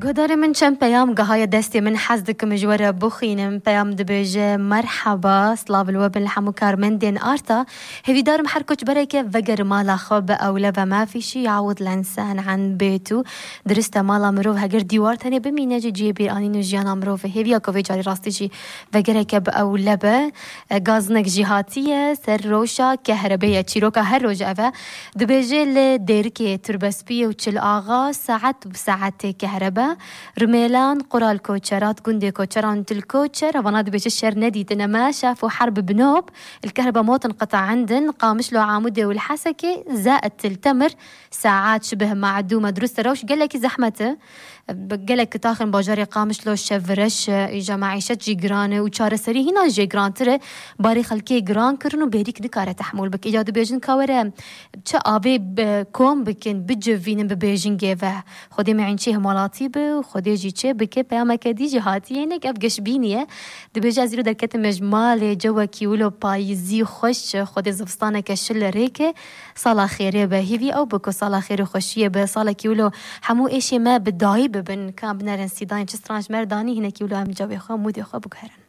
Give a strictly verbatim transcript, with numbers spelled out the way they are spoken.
Guhdarê min, çend peyam gihaye destê min, hez dikim ji we re bixwînim. Peyam dibêje, merheba, silav li we bin li hemû karmendên Arta. Hêvîdarim her koçbereke veger mala xwe bi ewle ve mafîşî yawid lensen an bêtu. Dirist e, mala mirov heger dîwar tenê bimîne jî cihê bîranîn û jiyana mirov e. Hêviya ku vê carî rastî jî vegereke bi ewle be. E, gaznek jî hatiye, ser roşa kehrebê ye. Çîroka her roj ev e. Dibêje li Dêrikê Turbespiyê û Çil Axa saet bi saetê kehrebe. Rumêlan, Qural Koçerat, gundê Koçeran, Til Koçer, vana dibêje şer nedîtine me, şef û herb binob, el kehrebe motin qita indin, Qamişlo, Amûdê û li Hesekê, zaet til temir, saet şibih ma'dûme. Dirust e, rewş gelekî zehmet e. Bi gelek kitaxên bajarê Qamişlo şevreş e, îja maîşet jî giran e û çareserî hîna jê girantir e. Barê xelkê giran kirin û bêrîk nikare tehmûl bike. Îca dibêjin ka were çi avê bi-, kom bikin, bicivînin bi bêjingê ve. Xwedê me înçê himalatî bi û Xwedê jî çê bike, peyameke dî jî hatiye, hinek ev geşbînî ye. Dibêje, ez îro derketime ji malê, cewekî wilo payîzî xweş, Xwedê zivistaneke şil rêke. Sala xêrê be. Hîvî ew be ku sala xêr û xweşiyê be. Salekî wilo hemû êşê me bi dayî bibin. Ka binerin sîdayên çi stran ji me re danî, hinekî wilo em cewê xwe, mûdê xwe biguherin.